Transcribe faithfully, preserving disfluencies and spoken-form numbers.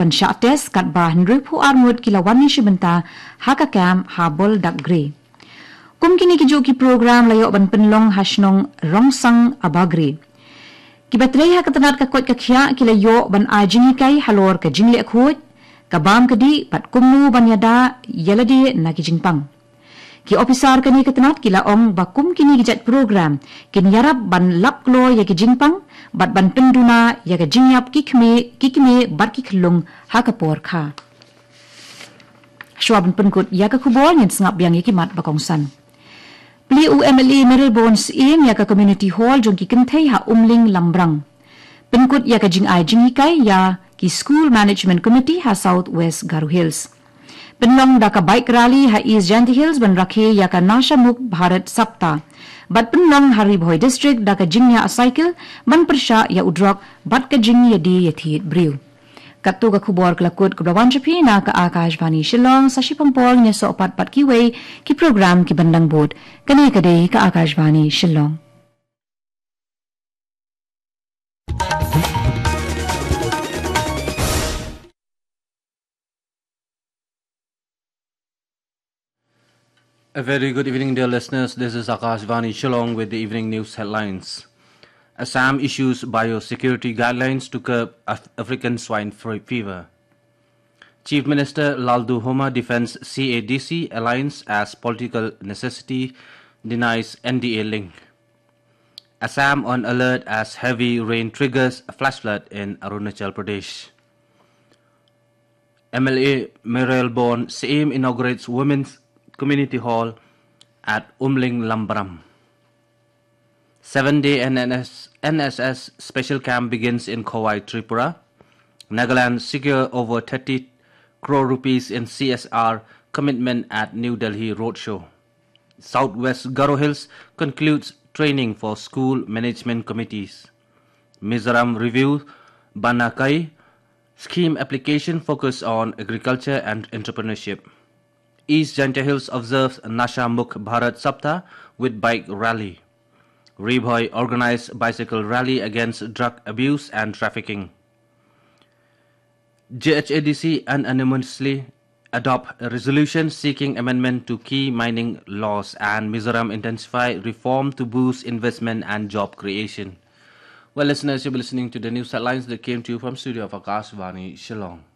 ban shah test, katba hynriewphew ar ngut ki la wan ïashim bynta ha ka camp ha Boldagre. Kum kine ki juh ki program la ïoh ban pynlong ha shnong Rongsang Abagre. Kiba trei ha ka tnat ka koit ka khiah ki la ïoh ban ai jinghikai halor ka jingleh khuid, ka bam ka dih bad kumno ban ïada ïa lade na ki jingpang. Ki ophisar kane ka tnat ki la ong ba kum kine ki jait program kin ïarap ban lap kloi ïa ki jingpang bad ban pynduna ïa ka jingïap ki kmie, ki kmie bad ki khyllung ha ka por kha. Shuwa ban pynkut ïa ka khubor, ngin sngap biang ïa ki mat ba kongsan. Plie u M L A Mayralborn Syiem ïa ka Community Hall jong ki kynthei ha Umling Lambrang. Pynkut ïa ka jingai jinghikai ïa ki School Management Committee ha South West Garo Hills. Pynlong da ka bike rally ha East Jaintia Hills ban rakhe ïa ka Nasha Mukt Bharat Saptah. Bad pynlong ha Ri Bhoi District da ka jingïaid cycle ban pyrshah ïa u drok bad ka jingïadie ïathied briew. Katto ka khubor ka la kut kaba wan sha phi na ka Akashvani Shillong. Sa shiphang por ngin ïasoh pat bad kiwei ki program kiban dang bud. Kane ka dei ka Akashvani Shillong. A very good evening, dear listeners. This is Akashvani Shillong with the evening news headlines. Assam issues biosecurity guidelines to curb Af- African swine fr- fever. Chief Minister Lalduhoma defends C A D C alliance as political necessity, denies N D A link. Assam on alert as heavy rain triggers flash flood in Arunachal Pradesh. M L A Mayralborn Syiem inaugurates Women's Community Hall at Umling Lambrang. Seven-day N S S, N S S special camp begins in Khowai, Tripura. Nagaland secure over thirty crore rupees in C S R commitment at New Delhi roadshow. Southwest Garo Hills concludes training for school management committees. Mizoram review Banakai scheme application focus on agriculture and entrepreneurship. East Jaintia Hills observes Nasha Mukt Bharat Saptah with bike rally. Ri Bhoi organized bicycle rally against drug abuse and trafficking. J H A D C unanimously adopt a resolution seeking amendment to key mining laws, and Mizoram intensify reform to boost investment and job creation. Well, listeners, you'll be listening to the news headlines that came to you from studio of Akashvani Shillong.